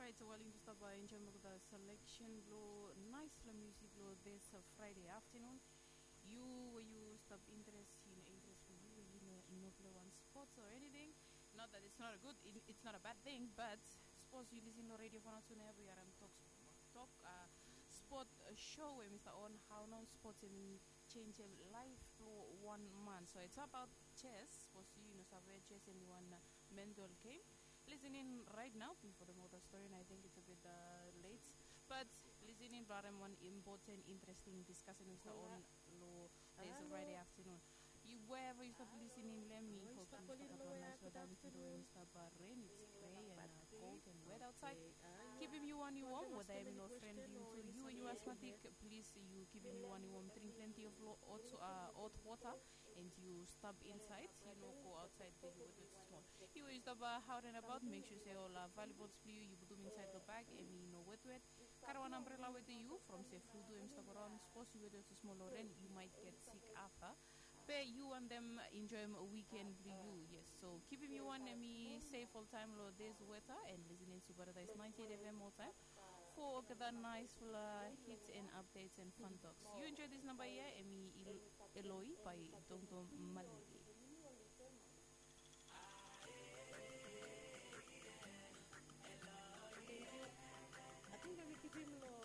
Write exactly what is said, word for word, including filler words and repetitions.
Right, so while yumi stap enjoim olgeta selection blo naisfala musik lo this Friday afternoon, yu we yu stap interes, yu no interes blo yu we yu no no play wan sports or anything. Not that it's not a good, it, it's not a bad thing, but sapos yu lisin lo radio fo nao tu nao ya, yu harim tok tok sport show we mi stap on hao nao sports em i changem laef blo wan man. So it's about chess. Sapos yu no save, chess em i wan mental game. Lisin in right now bifo the motor story, and I think it's a bit uh, late. But lisin in blo harim wan important, interesting discussion we stap on lo this Friday afternoon. You, wherever you stop listening, let me hope you stop nice weather with you, Mister Bahrain. It's gray and uh, cold and wet outside. Kipim yu wan yu wom, weta em i no fren blo yu tu. Yu we yu asmatik, plis yu kipim yu wan yu wom. Dring plenti of hot, uh, hot water and yu stap insaed. Yu no go aotsaed blo yu wetwet smol. Yu we yu stap uh, out and about, mek sua se ol uh, valuables blo yu yu putum insaed lo bag, em i no wetwet. Karem wan ambrela wetem yu from se flu tu em i stap araon. Sapos yu wetwet smol lo ren, yu maet get sik afta. Be yu wantem enjoem wiken blo yu, yes. So kipim yu wan em i sef oltaem lo this weather and listening to Paradise ninety-eight F M oltaem fo olgeta naesfala hits and updates and fun talks. Yu enjoy this namba ia, em i Eloi by Dongdong Malili. Ating em i kipim lo